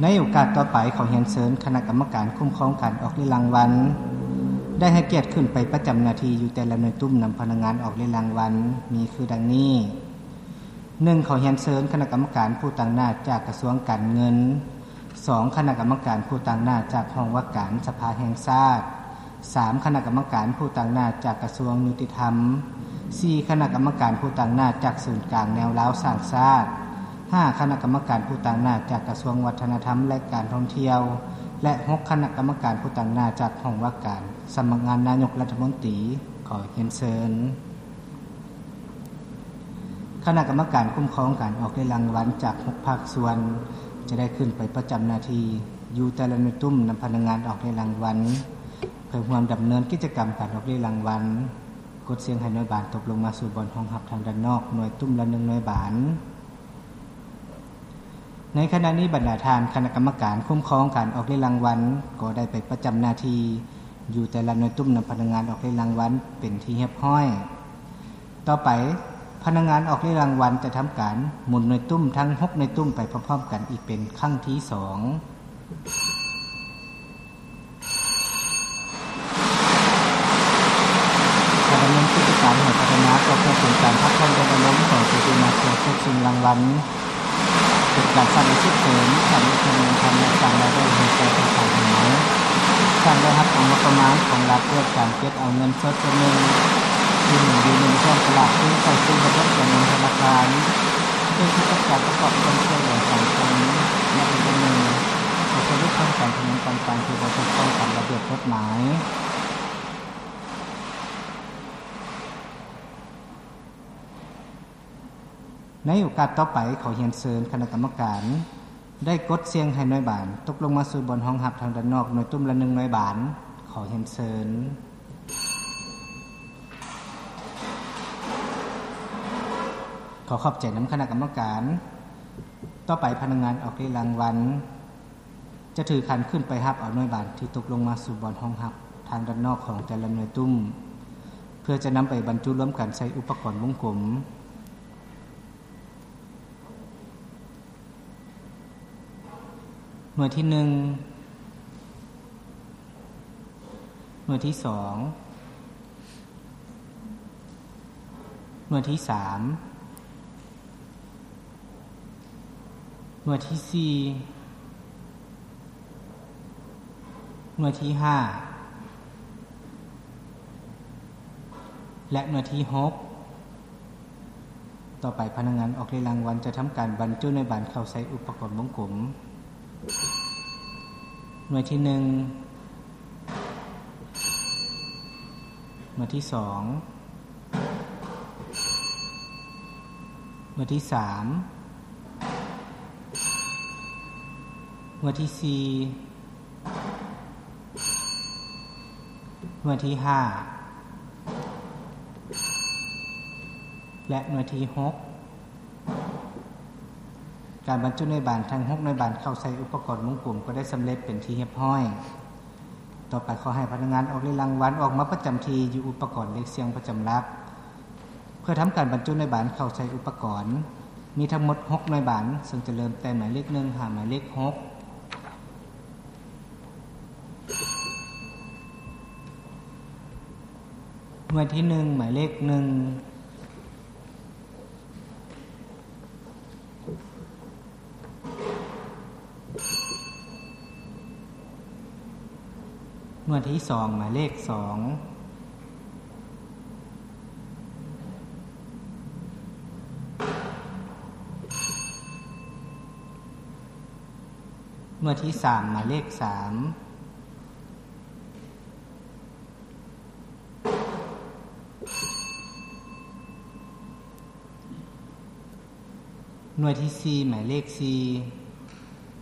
ໃນໂອກາດຕໍ່ໄປ, ຂໍຮຽນເຊີນຄະນະກຳມະການຄຸ້ມຄອງການອອກເລຍລາງວັນ ໄດ້ໃຫ້ກຽດຂຶ້ນໄປປະຈຳໜ້າທີ່ຢູ່ແຕ່ລະໜ່ວຍຕຸ້ມນຳພະນັກງານອອກເລຍລາງວັນ ມີຄືດັ່ງນີ້. ໜຶ່ງ ຂໍຮຽນເຊີນຄະນະກຳມະການຜູ້ຕາງໜ້າຈາກກະຊວງການເງິນ. ສອງ ຄະນະກຳມະການຜູ້ຕາງໜ້າຈາກຫ້ອງວ່າການສະພາແຫ່ງຊາດ. ສາມ ຄະນະກຳມະການຜູ້ຕາງໜ້າຈາກກະຊວງຍຸຕິທຳ. ສີ່ ຄະນະກຳມະການຜູ້ຕາງໜ້າຈາກສູນກາງແນວລາວສ້າງຊາດ. ຫ້າ ຄະນະກຳມະການຜູ້ຕາງໜ້າຈາກກະຊວງວັດທະນະທຳ ແລະ ການທ່ອງທ່ຽວ ແລະ ຫົກ ຄະນະກຳມະການຜູ້ຕາງໜ້າຈາກຫ້ອງວ່າການສຳນັກງານນາຍົກລັດຖະມົນຕີ. ຂໍຮຽນເຊີນ. ຄະນະກຳມະການຄຸ້ມຄອງການອອກເລຍລາງວັນຈາກຫົກພາກສ່ວນ ຈະໄດ້ຂຶ້ນໄປປະຈຳໜ້າທີ່ຢູ່ແຕ່ລະໜ່ວຍຕຸ້ມນຳພະນັກງານອອກເລຍລາງວັນ ເພື່ອຮ່ວມດຳເນີນກິດຈະກຳການອອກເລຍລາງວັນ. ກົດສຽງໃຫ້ໜ່ວຍບານຕົກລົງມາສູ່ບ່ອນຮອງຮັບທາງດ້ານນອກ ໜ່ວຍຕຸ້ມລະໜຶ່ງໜ່ວຍບານ. ໃນຂະນະນີ້, ບັນດາທ່ານຄະນະກຳມະການຄຸ້ມຄອງການອອກເລຍລາງວັນ ກໍໄດ້ໄປປະຈຳໜ້າທີ່ຢູ່ແຕ່ລະໜ່ວຍຕຸ້ມນຳພະນັກງານອອກເລຍລາງວັນເປັນທີ່ຮຽບຮ້ອຍ. ຕໍ່ໄປ, ພະນັກງານອອກເລຍລາງວັນຈະທຳການໝູນໜ່ວຍຕຸ້ມທັງຫົກໜ່ວຍຕຸ້ມໄປພ້ອມໆກັນອີກເປັນຄັ້ງທີສອງ. ການດຳເນີນກິດຈະການໃຫ້ພັດທະນາກໍເພື່ອເປັນການພັກຜ່ອນຢ່ອນອາລົມຂອງຜູ້ທີ່ມາເພື່ອເກັບສິ່ງລາງວັນ, ເປັນການສ້າງອາຊີບເສີມ, ສ້າງເງິນທຶນເງິນຄຳ ແລະ ສ້າງລາຍໄດ້ໃຫ້ແກ່ທາງການຂອງເຮົາ, ສ້າງລາຍຮັບຂອງງົບປະມານຂອງລັດດ້ວຍການເກັບເອົາເງິນສົດສ່ວນໜຶ່ງທີ່ໝູນຢູ່ໃນຊ່ອງຕະຫຼາດຄືນເຂົ້າສູ່ລະບົບການເງິນທະນາຄານ, ເພື່ອທີ່ຈະປະກອບສ່ວນຊ່ວຍເຫຼືອສັງຄົມ ແລະ ອີກອັນໜຶ່ງ ກໍຄືຫຼຸດຜ່ອນການພະນັນຕ່າງໆທີ່ບໍ່ຖືກຕ້ອງຕາມລະບຽບກົດໝາຍ. ໃນໂອກາດຕໍ່ໄປ, ຂໍຮຽນເຊີນຄະນະກຳມະການ ໄດ້ກົດສຽງໃຫ້ໜ່ວຍບານຕົກລົງມາສູ່ບ່ອນຮອງຮັບທາງດ້ານນອກ ໜ່ວຍຕຸ້ມລະໜຶ່ງໜ່ວຍບານ. ຂໍຮຽນເຊີນ. ຂໍຂອບໃຈນຳຄະນະກຳມະການ. ຕໍ່ໄປ, ພະນັກງານອອກເລຍລາງວັນ ຈະຖືຂັນຂຶ້ນໄປຮັບເອົາໜ່ວຍບານທີ່ຕົກລົງມາສູ່ບ່ອນຮອງຮັບທາງດ້ານນອກຂອງແຕ່ລະໜ່ວຍຕຸ້ມ ເພື່ອຈະນຳໄປບັນຈຸລວມກັນໃສ່ອຸປະກອນວົງກົມ. ໜ່ວຍທີໜຶ່ງ, ໜ່ວຍທີສອງ, ໜ່ວຍທີສາມ, ໜ່ວຍທີສີ່, ໜ່ວຍທີຫ້າ ແລະ ໜ່ວຍທີຫົກ. ຕໍ່ໄປ, ພະນັກງານອອກເລຍລາງວັນຈະທຳການບັນຈຸໜ່ວຍບານເຂົ້າໃສ່ອຸປະກອນວົງກົມ. ໜ່ວຍທີໜຶ່ງ, ໜ່ວຍທີສອງ, ໜ່ວຍທີສາມ, ໜ່ວຍທີສີ່, ໜ່ວຍທີຫ້າ ແລະ ໜ່ວຍທີຫົກ. ການບັນຈຸໜ່ວຍບານທັງຫົກໜ່ວຍບານເຂົ້າໃສ່ອຸປະກອນວົງກົມກໍໄດ້ສຳເລັດເປັນທີ່ຮຽບຮ້ອຍ. ຕໍ່ໄປ, ຂໍໃຫ້ພະນັກງານອອກເລຍລາງວັນອອກມາປະຈຳທີ່ຢູ່ອຸປະກອນເລກສ່ຽງປະຈຳຫຼັກ ເພື່ອທຳການບັນຈຸໜ່ວຍບານເຂົ້າໃສ່ອຸປະກອນ. ມີທັງໝົດຫົກໜ່ວຍບານ, ເຊິ່ງຈະເລີ່ມແຕ່ໝາຍເລກໜຶ່ງຫາໝາຍເລກຫົກ. ໜ່ວຍທີໜຶ່ງ ໝາຍເລກໜຶ່ງ, ໜ່ວຍທີສອງ ໝາຍເລກສອງ, ໜ່ວຍທີສາມ ໝາຍເລກສາມ, ໜ່ວຍທີສີ່ ໝາຍເລກສີ່,